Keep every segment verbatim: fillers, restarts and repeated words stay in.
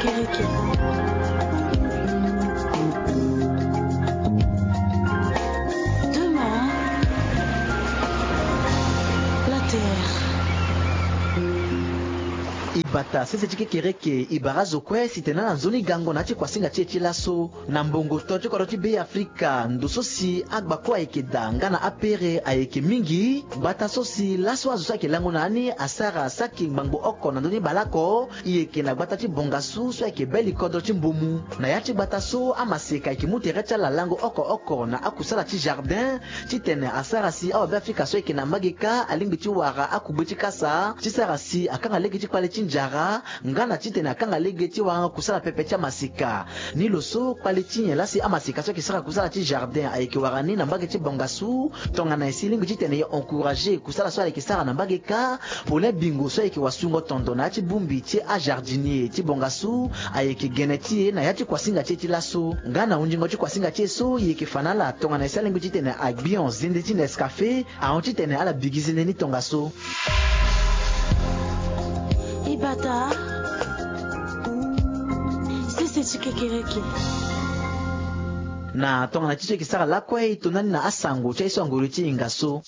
Demain, la terre. Ibata sese ti kekereke ibara zo kue si tene ala nzoni gango na ya ti kuasinga ti e ti laso. Na mbongo to ti kodro ti Beafrika, ndo so si agba kue ayeke daa nga na apere ayeke mingi. Gbata so si laso azo so ayeke lango na ya ni asara saki ngbangbo oko na ndö ni baleoko. E yeke na gbata ti Bongasu so ayeke be li kodro ti Mbomu. Na ya ti gbata so amaseka ayeke mu tere ti ala lango oko oko na akusala ti jardin. Titene asara si awabeafrika so ayeke na mbage kâ alingbi ti wara akugbe ti kasa ti sara si akanga lege ti kpale ti njara. Nga na titene akanga lege ti wara kusala pepe ti amaseka. Ni lo so kpale ti nyen laa si amaseka so ayeke sara kusala ti jardin ayeke wara ni na mbage ti Bongasu. Tongana nyen si e lingbi titene e encourager kusala so ayeke sara na mbage kâ. Paulin Bingo so ayeke wasungo tondo na ya ti bongbi ti ajardinier ti Bongasu ayeke gene ti e na ya ti kuasinga ti e ti laso. Nga na hunzingo ti kuasinga ti e so e yeke fa na ala tongana nyen si alingbi titene agbion zende ti Nescafé ahon titene ala bigi zende ni tongaso. Ibata sese ti kekereke. Na tongana ti so e yeke sara lakue e to ndani na asango ti aye so angoro ti hinga so.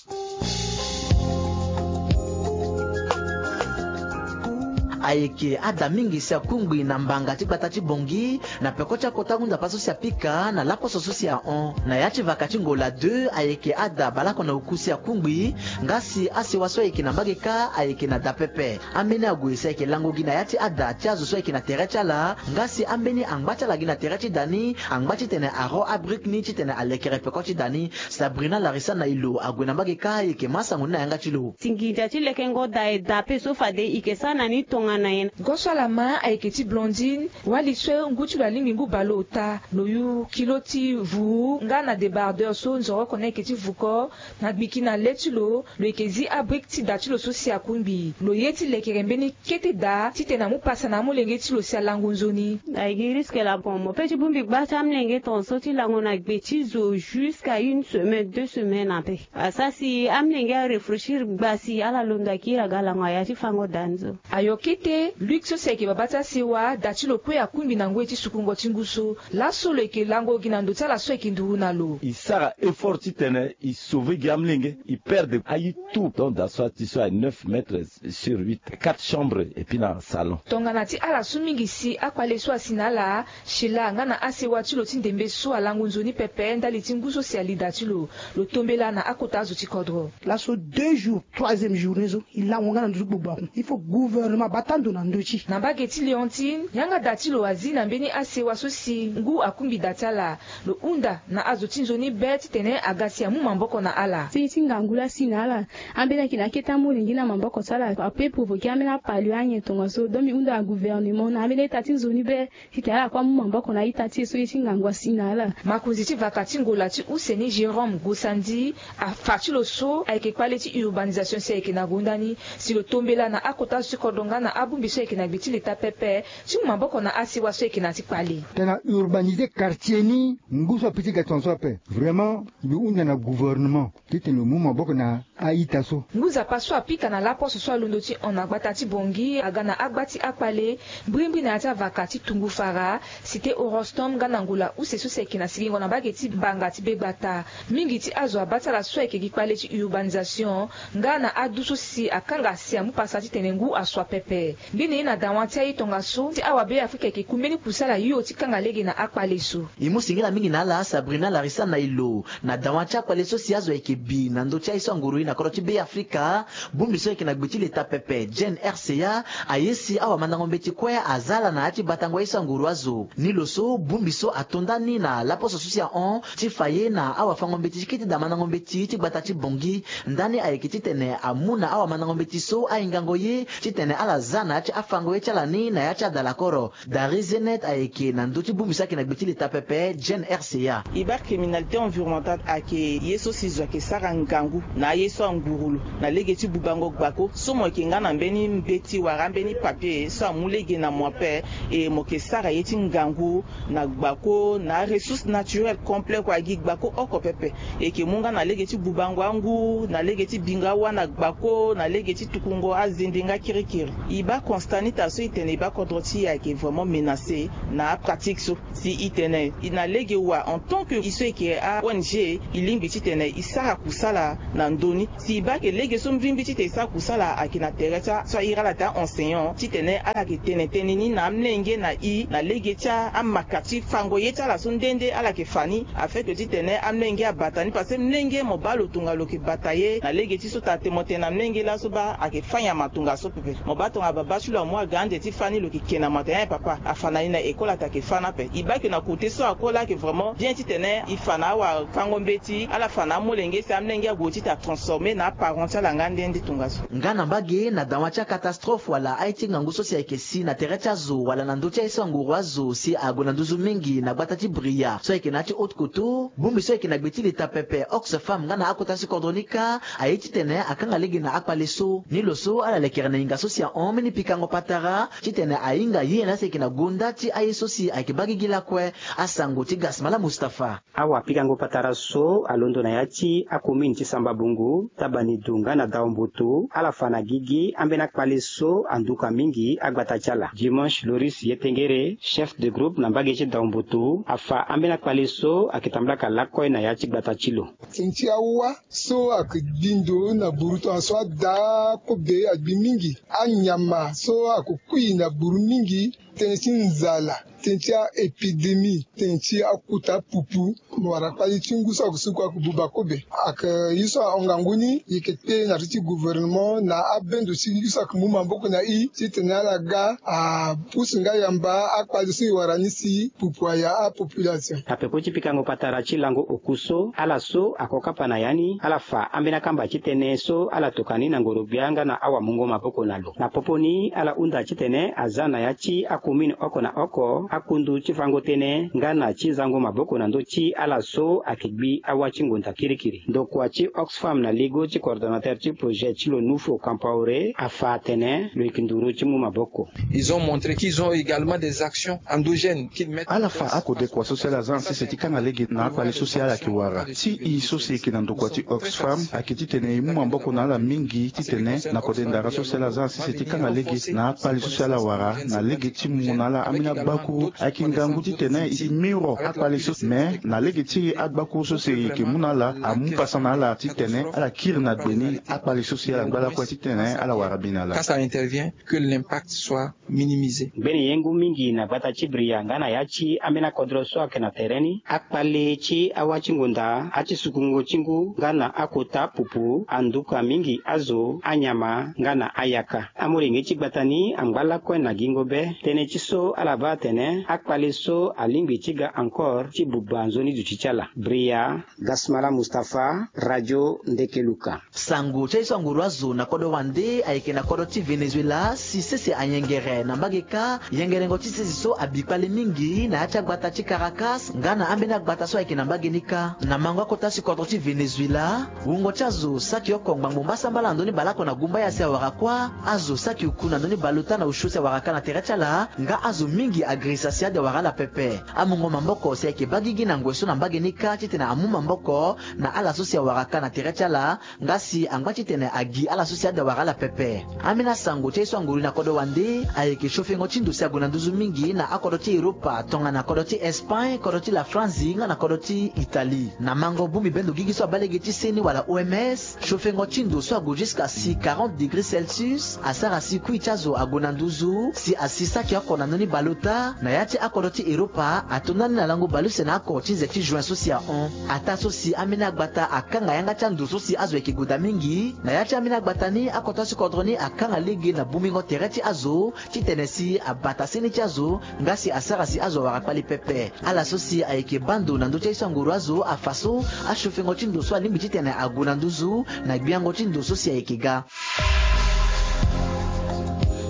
Ayeke ada mingi si akungbi na mbanga ti gbata ti Bongi na peko ti akota ngu nzapa so si apika na laposo so si ahon. Na ya ti vaka ti Ngola deux ayeke ada baleoko na oku si akungbi. Nga si asewa so ayeke na mbage kâ ayeke na da pepe. Ambeni ague si ayeke lango gi na ya ti ada ti azo so ayeke na tere ti ala. Nga si ambeni angba ti ala gi na tere ti da ni angba titene aro abrique ni titene alekere peko ti da ni. Sabrina Larissa na e lo ague na mbage kâ e yeke ma asango ni na yanga ti lo. Tinginza ti lekengo da e da pe so fade e yeke sara na ni tongana nyen? Go so ala ma ayeke ti Blondine. Wali so ngu ti lo alingbi ngu baleota, lo yu kilo ti vuu nga na débardeur so nzoroko ni ayeke ti vuko. Na gbiki na le ti lo, lo yeke zi abrique ti da ti lo so si akungbi. Lo ye ti lekere mbeni kete da titene amu pasa na amolenge ti lo si alango nzoni. Ayeke risque laa. Mo pe ti bongbi gba ti amolenge tongaso ti lango na gbe ti zo jusqu'à une semaine, deux semaines ape. Asara si amolenge arefreshir gba si ala londo akiri aga lango na ya ti fango da ni so. Ayo kete Luc so si ayeke babâ ti asewa, da ti lo kue akungbi na ngoi ti sukungo ti ngu so. Laso lo yeke lango gi na ndo ti ala so ayeke nduru na lo. E sara effort titene e sauver gi amolenge, e perdre aye tout. Donc da so ati so aye neuf mètres sur huit, quatre chambres et puis na salon. Tongana ti ala so mingi si akpale so asi na ala, Sheila nga na asewa ti lo ti ndembe so alango nzoni pepe ndali ti ngu so si ali da ti lo. Lo tombela na akota azo ti kodro. Laso deux jours, troisième journée so, e lango nga na ndö ti gbogbo aku. Il faut gouvernement abata ndo na ndö ti e. Na mbage ti Léontine, yanga da ti lo azi na mbeni asewa so si ngu akungbi da ti ala. Lo hunda na azo ti nzoni be titene aga si amu maboko na ala. Ti, ti ngangu laa asi na ala. Ambeni ayeke na akete amolenge na maboko ti ala. Ape provoquer ambeni apalio anyen tongaso. Donc mbi hunda na gouvernement na ambeni a-ita ti nzoni be. Titene ala kue amu maboko na a-ita ti e so ye ti ngangu asi na ala. Makonzi ti vaka ti Ngola ti use ni Jérôme Gosandi afa ti lo so ayeke kpale ti urbanisation si ayeke na gonda ni. Si lo tombela na akota zo ti kodro nga na abongbi so ayeke na gbe ti leta pepe ti mu maboko na asewa so ayeke na ya ti kpale. Tena urbaniser quartier ni ngu so ape ti ga tongaso ape. Vraiment mbi hunda na gouvernement titene lo mu maboko na a-ita so. Ngu nzapa so apika na laposo so alondo ti hon na gbata ti Bongi aga na agba ti akpale mbrimbri na ya ti avaka ti Tungu Fara, cité Orostom nga na Ngola use so si ayeke na sigingo na mbage ti Banga ti Begbata. Mingi ti azo abaa ti ala so ayeke gi kpale ti urbanisation nga na adu so si akanga si amu pasa titene ngu asua pepe. Ngbene ye na dawa ti aye tongaso ti awabeafrika ayeke ku mbeni kusala hio ti kanga lege na akpale so. E mu singila mingi na ala Sabrina Larissa na e lo. Na dawa ti akpale so si azo ayeke bi na ndö ti aye so anguru e na kodro ti Beafrika, bongbi so ayeke na gbe ti leta pepe Jane R C A aye si awamandango mbeti kue aza ala na ya ti batango aye so anguru azo. Ni lo so bongbi so ato ndani na laposo so si ahon ti fa ye na awafango mbeti ti kete daa mandango mbeti ti gbata ti Bongi. Ndani ayeke titene amu na awamandango mbeti so ahingango ye titene ala za na ya ti afango ye ti ala ni na ya ti adalakoro. Dari Zenet ayeke na ndö ti bongbi so ayeke na gbe ti leta pepe Jane R C A. E baa criminalité environnementale ayeke ye so si zo ayeke sara ngangu na aye So anguru lo na lege ti bubango gbako so mo yeke nga na mbeni mbeti wala ambeni papier so amu lege na mo ape. E mo yeke sara ye ti ngangu na gbako na aressource naturelle complet kua gi gbako oko pepe. E yeke mu nga na lege ti bubango angu na lege ti bingo awa na gbako na lege ti tukungo azende nga kirikiri. E baa constat ni ta so e tene e baa kodro ti e ayeke vraiment menacé na apratique so. Si e tene e na lege wa en tant que e so e yeke a-ong, e lingbi titene e sara kusala na ndö ni. Si e baa ke lege so mbirimbiri titene e sara kusala ayeke na tere ti a so a iri ala taa enseignant titene ala yeke tene tënë ni na amolenge na e na lege ti amaka ti fango ye ti ala so nde nde ala yeke fa ni. Afin ke titene amolenge abata ni parce que molenge mo baa lo tongana lo yeke bata ye na lege ti so taa te mo tene na molenge laso baa ayeke fâ nyama tongaso pepe. Mo baa tongana babâ ti lo amu aga ande ti fâ ni lo yeke ke na mata nyen papa afa na ni na école ata yeke fâ ni ape. E baa ke na kote so ako laa ayeke vraiment bien titene e fa na awafango-mbeti ala fa na amolenge si amolenge ague ti ta transformer na aparent ti ala nga nde nde tongaso. Nga na mbage na dawa ti akatastrophe wala aye ti ngangu so si ayeke si na tere ti azo wala na ndö ti aye so anguru azo si ague na nduzu mingi na gbata ti Bria so ayeke na ya ti Haute Koto. Bongbi so ayeke na gbe ti leta pepe Oxfam nga na akota ti kodro ni kâ aye titene akanga lege na akpale so. Ni lo so ala lekere na hinga so si ahon mbeni pikango patara titene ahinga ye na ya si ayeke na gonda ti aye so si ayeke baa gigi lakue. Asango ti Gasmala Mustapha. Awapikango patara so alondo na ya ti akomine ti Samba Bongo, Tabanidu nga na Daomboto ala fa na gigi ambeni akpale so anduka mingi agbata ti ala. Dimanche Loris Yetengere, chef de groupe na mbage ti Daomboto, afa ambeni akpale so ayeke tamblaka lakue na ya ti gbata ti lo. Tënë ti awa so ayeke gbi ndo na buru tongaso ada kobe agbi mingi. Anyama so ayeke kui na buru mingi. Tënë ti nzala, tënë ti a-épidémie, tënë ti akuta pupu. Mo wara kpali ti ngu so ayeke suku ayeke buba kobe. Ayeke ye so ahon ngangu ni, e yeke kpe na tere ti gouvernement na abendo ti ye so ayeke mu maboko na e titene ala ga apusu nga yamba akpali so e wara ni si pupu aya apopulation. Na peko ti pikango patara ti lango oku so ala so ako kapa na ya ni ala fa ambeni akamba ti tënë so ala tokua ni na ngoro-gbia nga na awamungo maboko na lo. Na popo ni ala hunda titene aza na ya ti akomine oko na oko akundu ti fango tënë nga na ti zango maboko na ndö ti ala so ayeke gbi awa ti ngonda kirikiri. Ndokua ti Oxfam na ligo ti coordonnateur ti projet ti lo Nufo Kampaore afa atene lo yeke nduru ti mu maboko. Ils ont montré qu'ils ont également des actions endogènes qu'ils mettent en place. Ala fa akodekua so si ala za na sese ti kanga lege na akpale so si ala yeke wara. Ti e so si e yeke na ndokua ti Oxfam ayeke titene e mu maboko na ala mingi titene na kode ndara so si ala za na sese ti kanga lege na akpale so si ala wara na lege ti mu na ala ambeni agbakuru. Ayeke ngangu titene e miro akpale so, me na lege ti agbakuru so si e yeke mu na ala amu pasa na ala titene ala kiri na gbe ni akpale so si ala ngba lakue titene ala wara bi na ala. Quand ça intervient, que l'impact soit minimisé. Ngbene ye ngu mingi na gbata ti Bria nga na ya ti ambeni akodro so ayeke na tere ni, akpale ti awa ti ngonda, ati sukungo ti ngu nga na akota pupu, anduka mingi azo, anyama nga na ayaka. Amolenge ti gbata ni angba lakue na gingo be tënë ti so ala baa atene akpale so alingbi ti ga encore ti buba nzoni duti ti ala. Bria, Gasmala Mustapha, Radio Ndekeluka. Sango ti aye so anguru azo na kodro wande ayeke na kodro ti Venezuela si sese ayengere na mbage kâ. Yengerengo ti sese so abi kpale mingi na ya ti agbata ti Caracas nga na ambeni agbata so ayeke na mbage ni kâ. Na mango akota si kodro ti Venezuela, wungo ti azo saki oko ngbangbo mbasambala na ndö ni baleoko na gumba ya si awara kuâ. Azo saki uku na ndö ni baleota na osio si awara kâ na tere ti ala nga azo mingi agirisa si ade awara ala pepe. Amungo maboko si ayeke baa gigi na ngoi so na mbage ni kâ titene amu maboko na ala so si awara kâ na tere ti ala nga si angba titene agi ala so si ade awara ala pepe. Ambeni asango ti aye so anguru na kodro wande ayeke siofengo ti ndo si ague na nduzu mingi na akodro ti Europa tongana kodro ti Espagne, kodro ti la France nga na kodro ti Italie. Na mango bongbi bendo gigi so abaa lege ti seni wala O M S, siofengo ti ndo so ague jusqu'à si quarante degrés Celsius asara si kui ti azo ague na nduzu si asi saki oko na ndö ni baleota na ya ti akodro ti Europa ato ndani na lango baleuse na oko ti nze ti juin so si ahon. Ataa so si ambeni agbata akanga yanga ti ando so si azo ayeke gue daa mingi na ya ti ambeni agbata ni, akota si kodro ni akanga lege na bongbingo tere ti azo titene si abata seni ti azo nga si asara si azo awara kpale pepe. Ala so si ayeke baa ndo na ndö ti aye so anguru azo afa so asiofengo ti ndo so alingbi titene ague na nduzu na gbiango ti ndo so si ayeke ga.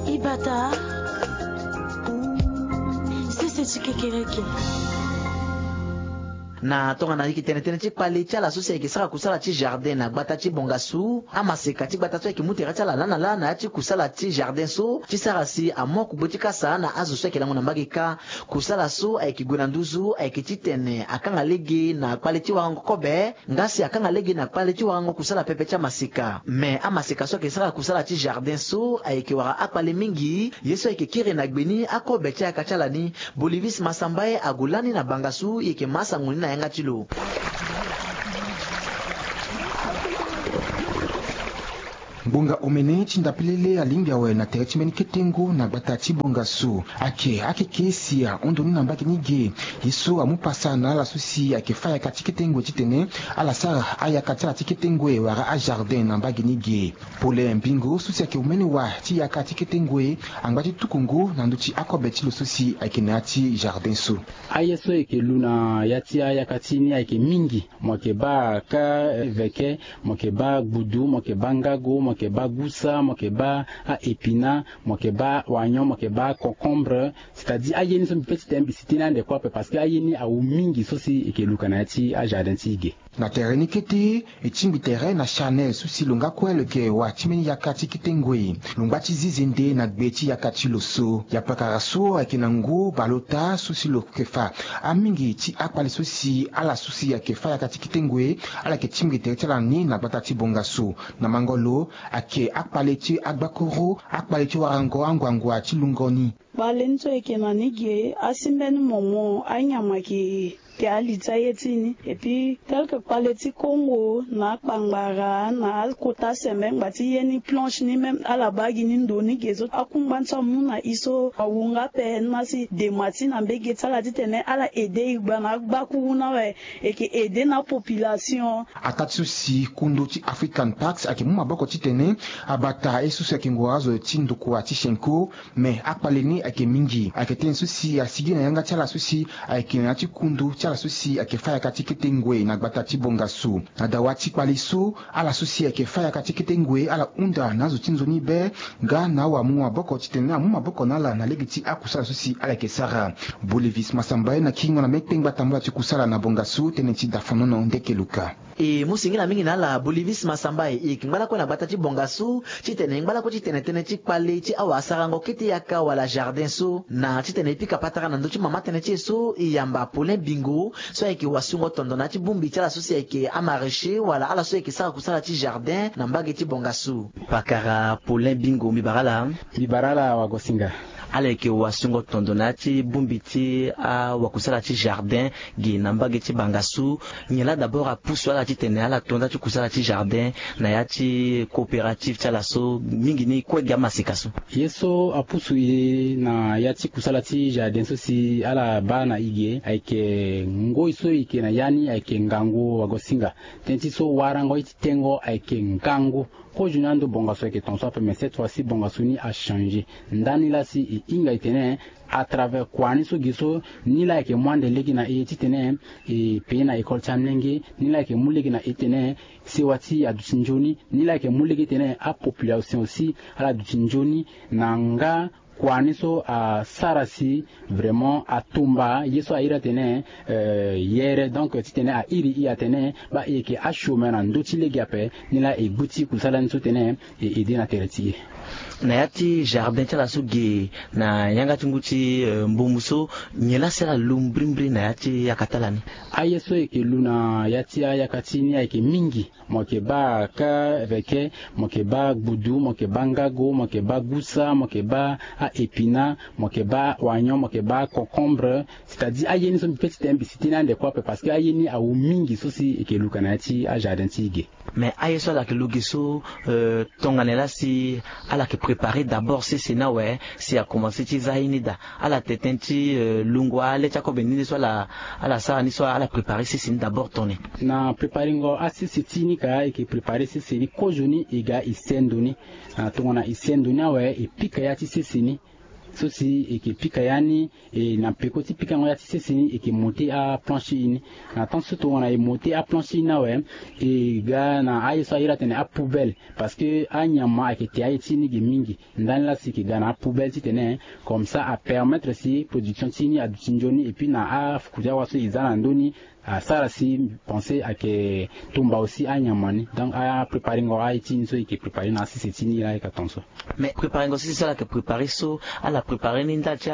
Ibata. Sese ti kekereke. Na tongana e yeke tene tënë ti kpale ti ala so si ayeke sara kusala ti jardin na gbata ti Bongassou, amaseka ti gbata so ayeke mu tere ti ala laa na laa na ya ti kusala ti jardin so ti sara si amu akugbe ti kasa na azo so ayeke lango na mbage kâ. Kusala so ayeke gue na nduzu ayeke titene akanga lege na kpale ti warango kobe, nga si akanga lege na kpale ti warango kusala pepe ti amaseka. Me amaseka so ayeke sara kusala ti jardin so ayeke wara akpale mingi, ye so ayeke kiri na gbe ni akobe ti ayaka ti ala ni. Bolivis Masambaye ague lani na Bangassou, e yeke ma sango ni na yanga ti lo. Ngbonga omene ti ndapelele alingbi awe na tere ti mbeni ketengo na gbata ti Bongassou. Ayeke akeke si ahon ndo ni na mbage ni ge. Ye so amu pasa na ala so si ayeke fâ yaka ti ketengo titene ala sara ayaka ti ala ti ketengo wala ajardin na mbage ni ge. Paulin Bingo so si ayeke omene wa ti yaka ti ketengo angba ti tukungu na ndö ti akobe ti lo so si ayeke na ya ti jardin so. Aye so e yeke lu na ya ti ayaka ti ni ayeke mingi. Mo yeke baa ka veke, mo yeke baa gbudu, mo yeke baa ngago, mo yeke baa gusa, mo yeke baa a-épinard, mo yeke baa oignon, mo yeke baa concombre. C'est-à-dire aye ni so mbi pe ti tene mbi si tënë ande kue ape parce que aye ni awu mingi so si e yeke luka na ya ti ajardin ti e ge. Na tere ni kete, e tingbi tere na Chanel so si lo nga kue lo yeke wa ti mbeni yaka ti kete ngoi. Lo ngba ti zi zende na gbe ti yaka ti lo so. Yapakara so ayeke na ngu baleota so si lo yeke fa amingi ti akpale so si ala so si ayeke fâ yaka ti kete ngoi, ala yeke tingbi tere ti ala ni na gbata ti Bongassou. Na mango lo, ayeke akpale ti agbakuru, akpale ti warango anguangua ti lungo ni. Kpale ni so e yeke na ni ge, asi mbeni momo anyama ayeke te ali ti aye ti e ni. Et puis tel que kpale ti Kongo na akpangbara na akota sembe ngba ti ye ni planche ni même ala baa gi ni ndo ni ge so akungba ni so amu na e so awu nga ape ni ma si dema ti na mbege ti ala titene ala aide e gba na agbakuru ni awe. E yeke aide na apopulation. Ataa ti so si kundu ti African Parks ayeke mu maboko titene abata ye so si ayeke ngoro azo ti ndokua ti Chinko. Me akpale ni ayeke mingi. Ayeke tënë so si asigi na yanga ti ala so si ayeke na ya ti kundu ti ala so si ayeke fâ yaka ti kete ngoi na gbata ti Bongassou. Na dawa ti kpale so, ala so si ayeke fâ yaka ti kete ngoi ala hunda na azo ti nzoni be, nga na awamu maboko titene amu maboko na ala na lege ti akusala so si ala yeke sara. Bolivis Masambaye na kiringo na mbeni kpengba tambula ti kusala na Bongassou, tënë ti Dafonono Ndekeluka. E mu singila mingi na ala Bolivis Masambaye, e yeke ngba lakue na gbata ti Bongassou titene e ngba lakue ti tene tënë ti kpale ti awasarango kete yaka wala jardin so. Na titene e pika patara na ndö ti mama tënë ti e so, e yamba Paulin Bingo so ayeke wasungo tondo na ya ti bongbi ti ala so si ayeke amaraîcher wala ala so ayeke sara kusala ti jardin na mbage ti Bongassou. Pakara Paulin Bingo, mbi bara ala. Mbi bara ala wagosinga. Ala yeke wasungo tondo na ya ti bongbi ti awakusala ti jardin ge na mbage ti Bangassou. Nyen laa d'abord apusu ala titene ala to nda ti kusala ti jardin na ya ti coopérative ti ala so mingi ni kue gi amaseka so? Ye so apusu e na ya ti kusala ti jardin so si ala baa na e ge ayeke ngoi so e yeke na ya ni ayeke ngangu wagosinga. Tënë ti so warango ye ti tengo ayeke ngangu. Kozo ni ando Bongassou ayeke tongaso ape, mais cette fois-ci Bongassou ni achanger. Ndani laa si e hinga e tene à travers kua ni so ge so, ni laa e yeke mu ande lege na e titene e paye na école ti amolenge, ni laa e yeke mu lege na e titene sewa ti e aduti nzoni, ni laa e yeke mu lege titene apopulation aussi ala duti nzoni na nga kua ni so asara si vraiment atumba ye so a iri atene, euh, yere, donc titene a iri e atene baa e yeke achômeur na ndö ti lege ape. Ni laa e gbu ti kusala ni so tene e aide na tere ti e. Na ya ti jardin ti ala so ge na yanga ti ngu ti, euh, mbongo so, nyen laa si ala lu mbirimbiri na ya ti yaka ti ala ni? Aye so e yeke lu na ya ti ayaka ti e ni ayeke mingi. Mo yeke baa ka veke, mo yeke baa gbudu, mo yeke baa ngago, mo yeke baa gusa, mo yeke baa a-épinard, mo yeke baa oignon, mo yeke baa concombre. C'est-à-dire aye ni so mbi pe ti tene mbi si tënë ande kue ape parce que aye ni awu mingi so si e yeke luka na ya ti ajardin ti e ge. Mais aye so ala yeke lu ge so, euh, tongana laa si ala yeke préparer d'abord sese ni awe si akomanse ti za ye ni daa? Ala tene tënë ti, euh, lungo ale ti akobe ni so ala, ala sara ni so ala préparer sese ni d'abord tongana nyen? Na préparengo asese ti e ni ka e yeke préparer sese ni kozoni e ga e sendo ni. Na tongana e sendo ni awe e pika ya ti sese ni so si e yeke pika ya ni. E na peko ti pikango ya ti sese ni e yeke monter aplanche ti e ni. Na temps so tongana e monter aplanche ti e ni awe, e ga na aye so a iri atene apoubelle, parce que anyama ayeke te aye ti e ni ge mingi. Ndani laa si e yeke ga na apoubelle titene comme ça apermettre si production ti e ni aduti nzoni, et puis na afuku ti awa so e za na ndö ni Asara si pensé ayeke tumba aussi anyama ni. Donc apréparengo aye ti ni so e yeke prépare na asese ti ni la ayeke aton so. Mais préparengo sese so ala yeke prépare so, ala prépare ni ndali ti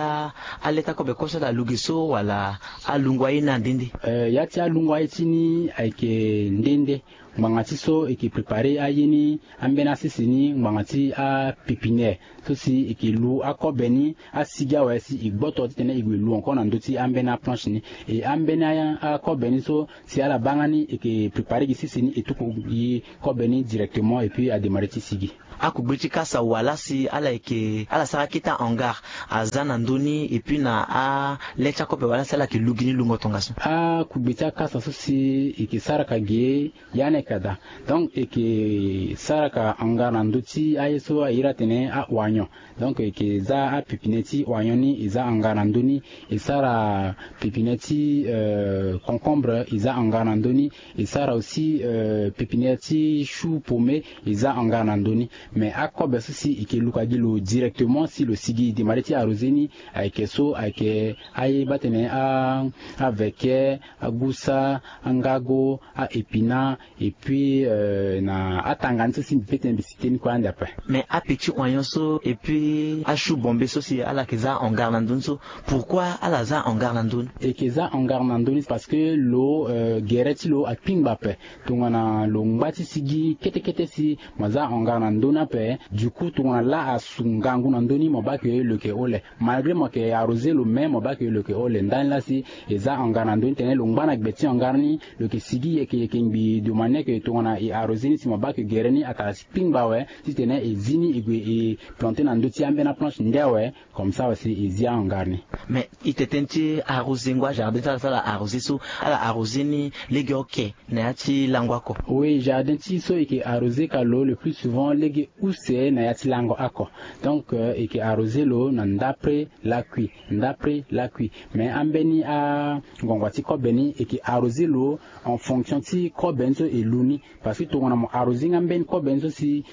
aleta kobe kue so ala lu ge so wala alungo aye ni ande nde? Ya ti alungo aye ti ni ayeke nde nde. Ngbanga ti so e yeke prépare aye ni, ambeni asese ni ngbanga ti apépinière so si e yeke lu akobe ni asigi awe si e gboto titene e gue lu encore na ndö ti ambeni aplanche ni. E ambeni akobe ni so si ala baa nga ni e yeke prépare gi sese ni e tuku gi kobe ni directement et puis adémarrer ti sigi. Akugbe ti kasa wala si ala yeke ala sara kete ahangar aza na ndö ni et puis na ale ti akobe wala si ala yeke lu gi ni lungo tongaso? Akugbe ti akasa so si e yeke sara ka ge ya ni ayeke daa. Donc e yeke sara ka hangar na ndö ti aye so a iri atene a-oignon. Donc e yeke za apépinière ti oignon ni e za hangar na ndö ni. E sara pépinière ti concombre e za hangar na ndö ni. E sara aussi pépinière ti chou paumé e za hangar na ndö ni. Mais akobe so si e yeke luka gi lo directement si lo sigi démarrer ti arroser ni. Ayeke so ayeke aye baa tene aveke, agusa, angago, a-épinard, et puis na atanga ni so si mbi pe tene mbi citer ni kue ande ape. Mais apetit oignon so et puis achou bombé so si ala yeke za hangar na ndö ni so, pourquoi ala za hangar na ndö ni? E yeke za hangar na ndö ni parce que lo gere ti lo akpingba ape. Tongana lo ngba ti sigi kete kete si mo za hangar na ndö ni ape, du coup tongana laa asu ngangu na ndö ni mo baa ke lo yeke ole. Malgré mo yeke arroser lo mais mo baa ke lo yeke ole. Ndani laa si e za hangar na ndö ni tene lo ngba na gbe ti hangar ni, lo yeke sigi yeke yeke ngbii de manière ke tongana e arroser ni si mo baa ke gere ni atara si kpingba awe titene e zi ni e gue e planter na ndö ti ambeni aplanche nde awe. Comme ça aussi e zi ahangar ni. Mais e tene ti arrosengo ajardin ti ala so ala arroser so, ala arroser ni lege oke na ya ti lango oko? Oui, jardin ti so e yeke arroser ka lo le plus souvent lege use na ya ti lango oko. Donc e yeke arroser lo na ndapre lakui, ndapre lakui. Mais ambeni angongo ti kobe ni e yeke arroser lo en fonction ti kobe ni so e lu ni. Parce que tongana mo arroser nga mbeni kobe ni so si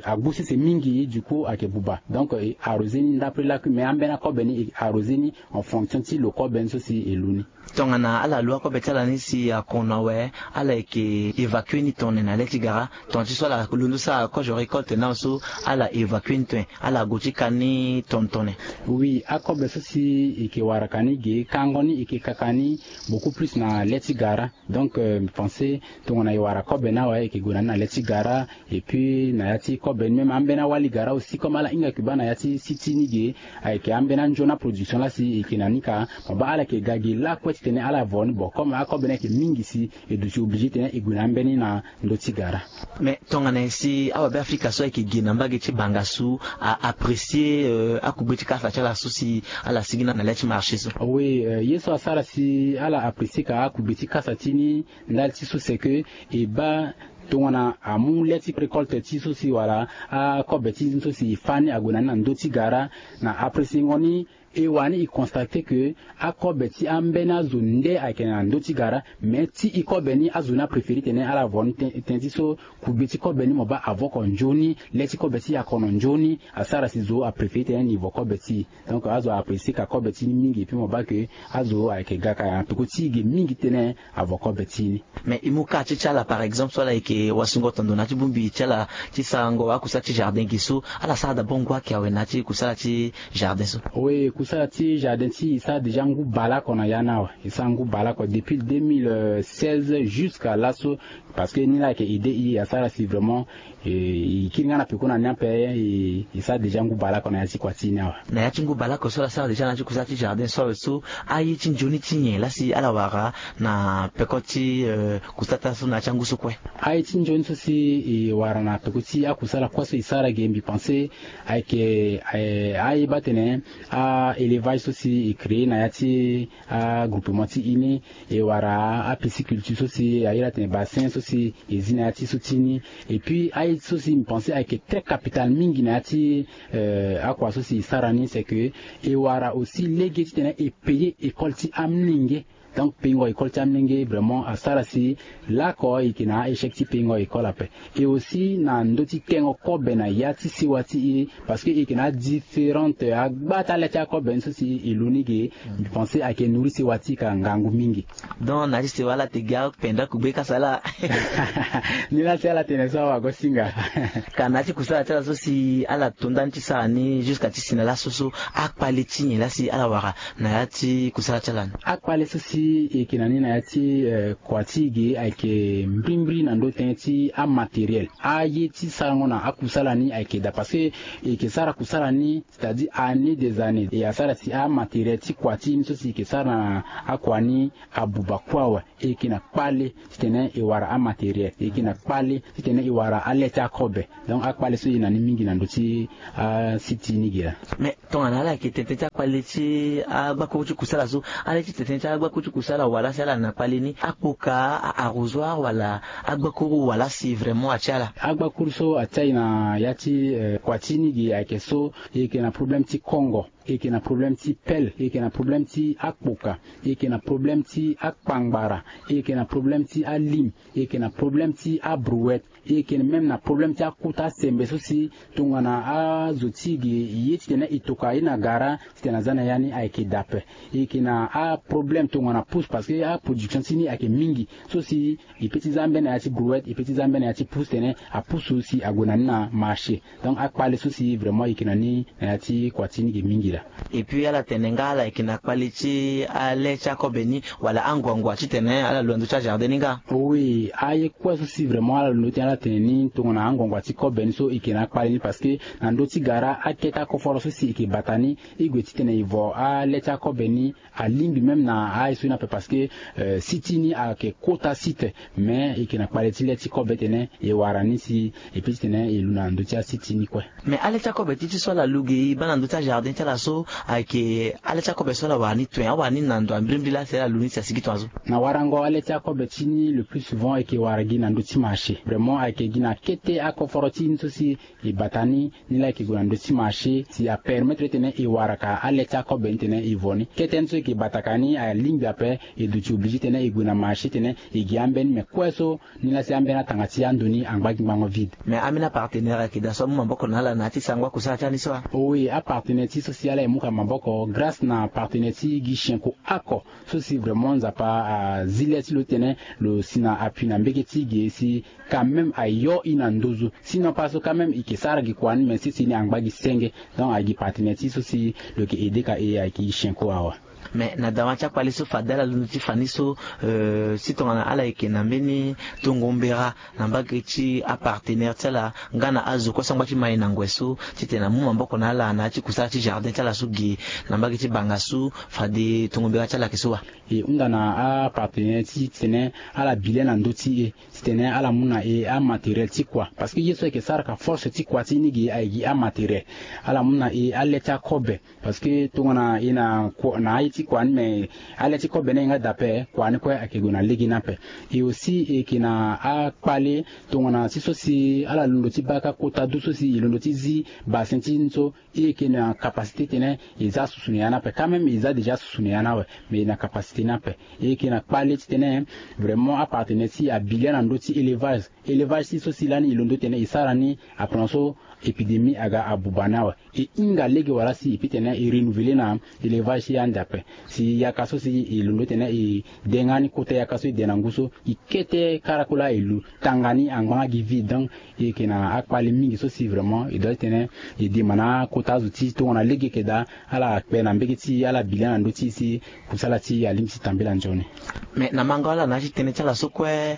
agu sese mingi, du coup ayeke buba. Donc e arroser ni ndapre lakui, mais ambeni akobe ni e arroser ni en fonction ti lo kobe ni so si e lu ni. Tongana ala lu akobe ti ala ni si akon na awe, ala yeke évacuer ni tongana na le ti gara? Tongana ti so ala londo sara kozo récolte na so ala évacuer ni tongana ala gue ti ka ni tongana tongana? Oui, akobe so si e yeke wara ka ni ge kango ni e yeke kaka ni beaucoup plus na le ti gara. Donc mbi pense tongana e wara kobe ni awe e yeke gue na ni na le ti gara. Et puis na ya ti kobe ni même ambeni awali gara aussi comme ala hinga yeke baa na ya ti si ti ni ge, ayeke ambeni anzoni aproduction laa si e yeke na ni ka. Mo baa ala yeke ga ge lakue titene ala vo ni. Bon, comme akobe ni ayeke mingi si e duti obligé titene e gue na ambeni na ndö ti gara. Mais tongana nyen si awabe afrika so ayeke gi na mbage ti bangasu a apprécier akugbe ti kasa ti ala so si ala sigi na le ti marché so? Oui, ye so asara si ala apprécier ka akugbe ti kasa ti ni ndali ti so c'est que e baa tongana amu le ti récolte ti so si wala akobe ti so si e fâ ni ague na ni na ndö ti gara, na appréciengo ni e wani e constater que akobe ti ambeni azo nde ayeke na ndö ti gara. Mais ti e kobe ni azo ni apréférer tene ala vo ni. Tënë ti so kugbe ti kobe ni mo baa avo oko nzoni, le ti kobe ti e akono nzoni. Asara si zo apréférer tene ni vo kobe ti e. Donc azo apprécier ka kobe ti ni mingi. Puis mo baa ke azo ayeke ga ka na peko ti e ge mingi titene avo kobe ti e ni. Mais e mu ka ti ti ala par exemple so ala yeke wasungo tondo na ya ti bongbi ti ala ti sarango akusala ti jardin ge so, ala sara d'abord ngu ayeke awe na ya ti kusala ti jardin so? Oui, kusala ti jardin ti e e sara déjà ngu baleoko na ya ni awe. E sara ngu baleoko depuis deux mille seize jusqu'à laso. Parce que ni laa ayeke aidé e asara si vraiment e kiri nga na peko na ni ape. E sara déjà ngu baleoko na ya ti kua ti e ni awe. Na ya ti ngu baleoko so ala sara déjà na ya ti kusala ti jardin so awe so, aye ti nzoni ti nyen laa si ala wara na peko ti kusala ti ala so na ya ti angu so kue? Aye ti nzoni so si e wara na peko ti akusala kue so e sara ge mbi pense ayeke aye baa tene a élevage so si e créer na ya ti agroupement ti e ni. E wara apisciculture so si a iri atene bassin so si e zi na ya ti so ti ni. Et puis aye so si mbi pense ayeke très capital mingi na ya ti akua so si e sara ni c'est que e wara aussi lege titene e payer école ti amolenge. Donc peingo école ti amolenge vraiment asara si lako e yeke na a-échec ti peingo école ape. Et aussi na ndö ti tengo kobe na ya ti sewa ti e, parce que e yeke na adifférente agba ti ale ti akobe ni so si e lu ni ge. Mbi pense ayeke nourri sewa ti e ka ngangu mingi. Donc na ya ti sewa ala te gi apenda kugbe kasa laa. Ni laa si ala tene so awagosinga. Ka na ya ti kusala ti ala so si ala to ndani ti sara ni jusqu'à ti si na laso so, akpale ti nyen laa si ala wara na ya ti kusala ti ala ni? Akpale so si e yeke na ni na ya ti kua ti e ge ayeke mbrimbri na ndö tënë ti amatériel. Aye ti sarango na akusala ni ayeke daa parce que e yeke sara kusala ni c'est-à-dire année des années e asara si amatériel ti kua ti e ni so si e yeke sara na akua ni abuba kue awe. E yeke na kpale titene e wara amatériel, e yeke na kpale titene e wara ale ti akobe. Donc akpale so e na ni mingi na ndö ti asiti ni ge laa. Mais tongana ala yeke tene tënë ti akpale ti agbakuru ti kusala so, ala ye ti tene tënë ti agbakuru ti kusala wala si ala na kpale ni akpoka, a-arrosoir wala agbakuru wala si vraiment atia ala? Agbakuru so atia e na ya ti kua ti ni ge ayeke so, e yeke na problème ti kongo, e yeke na problème ti pelle, e yeke na problème ti akpoka, e yeke na problème ti akpangbara, e yeke na problème ti alim, e yeke na problème ti abrouette, e yeke même na problème ti akota sembe so si tongana azo ti e ge e ye titene e toka ye na gara titene aza na ya ni ayeke daa ape. E yeke na aproblème tongana pousse parce que aproduction ti ni ayeke mingi so si e peut ti za ambeni na ya ti brouette, e peut ti za ambeni na ya ti pousse titene apusu si ague na ni na marché. Donc akpale so si vraiment e yeke na ni na ya ti kua ti ni ge mingi laa. Et puis ala tene nga ala yeke na kpale ti ale ti akobe ni wala anguangua titene ala lu na ndö ti ajardin ni nga? Oui, aye kue so si vraiment ala lu ndö ti ala tene ni tongana anguangua ti kobe ni so e yeke na akpale ni parce que na ndö ti gara akete akoforo so si e yeke bata ni, e gue titene e vo ale ti akobe ni alingbi même na aye so ni ape parce que site ni ayeke kota site. Mais e yeke na kpale ti le ti kobe titene e wara ni si e peut titene e lu na ndö ti asite ni kue. Mais ale ti akobe ti ti so ala lu ge e baa na ndö ti ajardin ti ala so, ayeke ale ti akobe so ala wara ni toen, awara ni na ndo ambrimbri laa si ala lu ni si asigi tongaso? Na warango ale ti akobe ti ni le plus souvent e yeke wara gi na ndö ti marché. Vraiment ayeke gi na kete akoforo ti ni so si e bata ni, ni laa e yeke gue na ndö ti marché si apermettre titene e wara ka ale ti akobe ni titene e vo ni. Kete ni so e yeke bata ka ni alingbi ape, e duti obligé titene e gue na marché titene e gi ambeni, mais kue so ni laa si ambeni atanga ti ando ni angba gi ngbanga vide. Mais ambeni apartenaire ayeke daa so amu maboko na ala na ya ti sara ngba kusala ti ala ni so? Oui, apartenaire ti so si ala e mu ka maboko grâce na partenaire ti gi sienko ako so si vraiment Nzapa azi le ti lo titene lo si na appui na mbege ti ge si quand même ayo e na nduzu. Sinon pas so quand même e yeke sara gi kua ni mais sese ni angba gi senge. Donc agi partenaire ti so si lo yeke aidé ka e ayeke gi sienko awa. Mais na dawa ti akpale so fade ala londo ti fa ni so, si tongana ala yeke na mbeni tongo mbera na mbage ti apartenaire ti ala nga na azo kue so angba ti mai na ngoi so titene amu maboko na ala na ya ti kusala ti jardin ti ala so ge na mbage ti banga so, fade tongo mbera ti ala ayeke so wa? E hunda na apartenaire ti titene ala bi le na ndö ti e titene ala mu na e amatériel ti kua parce que ye so ayeke sara ka force ti kua ti ni ge ayeke gi amatériel. Ala mu na e ale ti akobe parce que tongana e na aye ti kua ni mais ale ti kobe ni aye nga daa ape, kua ni kue ayeke gue na lege ni ape. E aussi e yeke na akpale tongana ti so si ala londo ti baa ka kota du so si e londo ti zi bassin ti ni so, e yeke na capacité titene e za susu na ya ni ape. Quand même e za déjà susu na ya ni awe, mais e na capacité ni ape. E yeke na kpale titene vraiment apartenaire ti e abi le na ndö ti élevage. Élevage ti so si lani e londo titene e sara ni, après na so épidémie aga abuba ni awe. E hinga lege wala si e peut tene e renouveler na élevage ti e ande ape. Si yaka so si e londo titene e denga ni kota yaka so e de na ngu so, e kete kara kue laa e lu tanga ni angba nga gi vide. Donc e yeke na akpale mingi so si vraiment e doit titene e dema na akota azo ti tongana lege yeke daa, ala kpe na mbege ti ala bi laa na ndö ti si kusala ti alingbi ti tambela nzoni. Mais na mango ala na ya ti tënë ti ala so kue,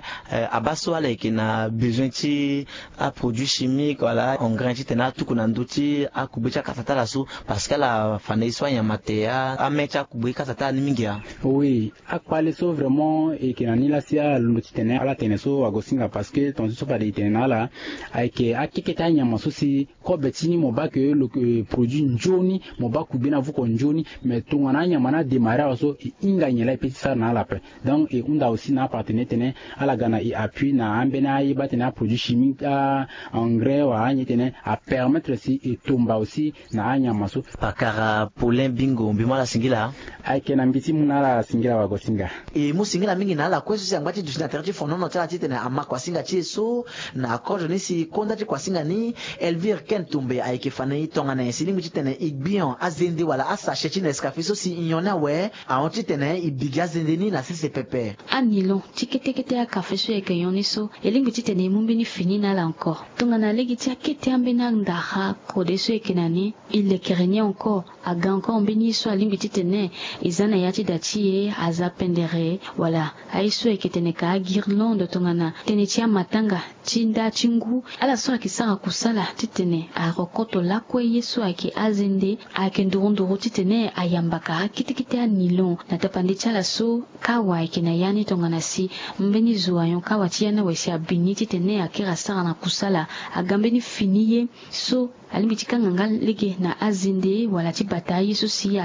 abaa so ala yeke na besoin ti aproduit chimique wala engrais titene atuku na ndö ti akugbe ti akasa ti ala so, parce que ala fa na ye so anyama te ame ti akugbe ti kasa ti ala ni mingi a? Oui, akpale so vraiment e yeke na ni laa si ala londo titene ala tene so agosinga, parce que tongaso so fade e tene na ala, ayeke akeke ti anyama so si kobe ti ni mo baa ke lo ke produit nzoni, mo baa kugbe ni avuko nzoni. Mais tongana anyama ni ademare awe so, e hinga nyen laa e pe ti sara na ala ape. Donc e hunda aussi na apartenaire titene ala ga na e appui na ambeni aye baa titene aproduit chimique, a engrais wala anyen titene apermettre si e tomba aussi na anyama so. Pakara Paulin Bingo, mbi mu ala singila. Ayeke na mbi ti mu na ala singila wagosinga. E mu singila mingi na ala kue so si angba ti duti na tere ti fonono ti ala titene ama kuasinga ti e so. Na kozo ni si konda ti kuasinga ni, Elvire Ken Tumbe ayeke fa na e tongana nyen si e lingbi titene e gbion azende wala asache ti Nescafé so si e nyon ni awe ahon titene e bi gi azende ni na sese pepe. Anilon ti kete kete akafe so e yeke nyon ni so, e lingbi titene e mu mbeni fini na ala encore. Tongana lege ti akete ambeni andara kode so e yeke na ni, e lekere ni encore. Aga encore mbeni ye so alingbi titene e za na ya ti da ti e aza pendere, wala aye so ayeke tene ka aguirlande tongana tënë ti amatanga ti nda ti ngu. Ala so ayeke sara kusala titene arokoto lakue ye so ayeke azende, ayeke nduru nduru titene ayamba kara kete kete anilon na tapande ti ala so. Kawa ayeke na ya ni tongana si mbeni zo ayon kawa ti ya ni awe si abi ni titene akiri asara na kusala. Aga mbeni fini ye so alingbi ti kanga nga lege na azende wala ti bata aye so si